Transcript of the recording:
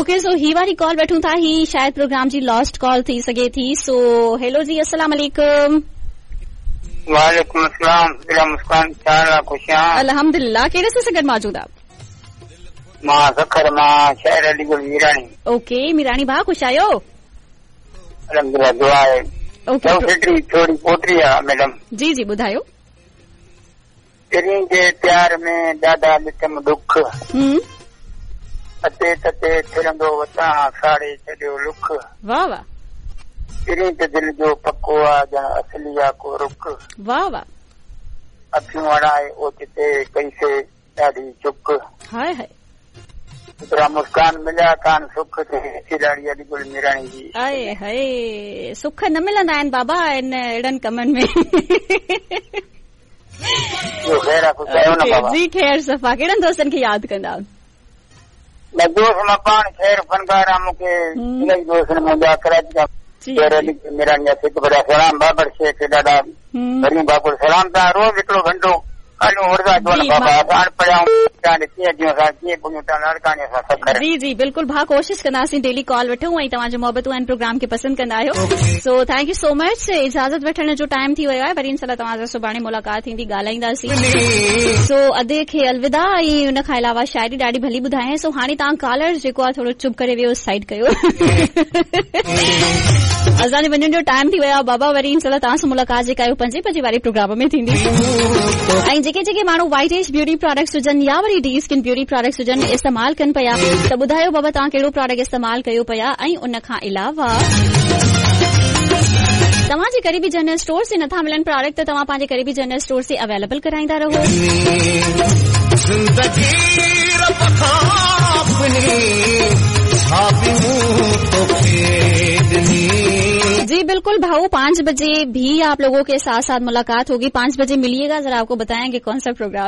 Okay so ही वारी call वठूं था, ही शायदि प्रोग्राम जी लॉस्ट कॉल थी सघे थी। सो हेलो जी, अस्सलाम वालेकुम। वालेकुम अस्सलाम। दिला मुस्कान, छा हाल आहे? ख़ुशि आहियाँ। अल्हम्दुलिल्लाह। कहिड़े सां गॾु मौजूद आहे? मां सखर मां शहर अलीगढ़ मीराणी। ओके मीराणी भाउ, ख़ुशि आहियो? अल्हम्दुलिल्लाह, दुआ आहे। ओके। हिकिड़ी थोरी पोइट्री आहे मैडम। जी जी ॿुधायो। पहिरीं जे प्यार में ॾाढा ॾिठमि ॾुख, अते तते फिरंदो वतां साड़े छॾियो लुख। वाह वाह। पहिरीं त दिलि जो पको आहे ॼण असली आहे को रुख। वाह वाह। अखियूं अड़ाए ओचिते कईसे ॾाढी चुक। हाय हाय। एतिरा मुस्कान मिलिया कान सुख ते ॾाढी अलीगढ़ मीराणी जी। आए हाय, सुख न मिलंदा आहिनि बाबा इन अहिड़नि कमनि में। ख़ैर आहे, ख़ुशि आहियो न बाबा? जी ख़ैर सफ़ा। कहिड़नि दोस्तनि खे यादि कंदा? न दोस्त मां पाण ख़ैर फनकार आहियाँ, मूंखे इलाही दोस्त आहिनि मुंहिंजा कराची खां। ख़ैर अली मीराणी जा सिख भरिया सलाम, बाबर शेख ॾाढा भरियूं बाबुर सलाम। तव्हां रोज़ हिकिड़ो घंटो जी जी बिल्कुलु भाउ, कोशिशि कंदासीं डेली कॉल वठूं ऐं तव्हांजो मोहबतूं आहिनि प्रोग्राम खे पसंदि कंदा आहियो। So thank you so much. इजाज़त वठण जो टाइम थी वियो आहे, वरी इंशाअल्लाह तव्हां सां सुभाणे मुलाक़ात थींदी, ॻाल्हाईंदासीं। सो अदे खे अलविदा ऐं उन खां अलावा शाइरी ॾाढी भली ॿुधायईं। सो हाणे तव्हां कॉलर जेको आहे थोरो चुप करे वियो, साइड कयो, असांजे वञण जो टाइम थी वियो आहे बाबा। वरी इंशाअल्लाह तव्हां सां मुलाक़ात जेका आहे 5 बजे वारे प्रोग्राम में थींदी। ऐं जेके जेके माण्हू व्हाइट एज ब्यूटी प्रोडक्ट्स हुजनि या वरी डी स्किन ब्यूटी प्रोडक्ट्स हुजनि इस्तेमालु कनि पिया, त ॿुधायो बाबा तव्हां कहिड़ो प्रोडक्ट इस्तेमालु कयो पिया। ऐं उन खां अलावा तव्हांजे क़रीबी जनरल स्टोर ते नथा मिलनि प्रोडक्ट, त तव्हां पंहिंजे क़रीबी जनरल स्टोर ते अवेलेबल कराईंदा रहो। जी बिल्कुल भाऊ, 5 बजे भी आप लोगों के साथ साथ मुलाकात होगी। 5 बजे मिलिएगा, जरा आपको बताएंगे कौन सा प्रोग्राम।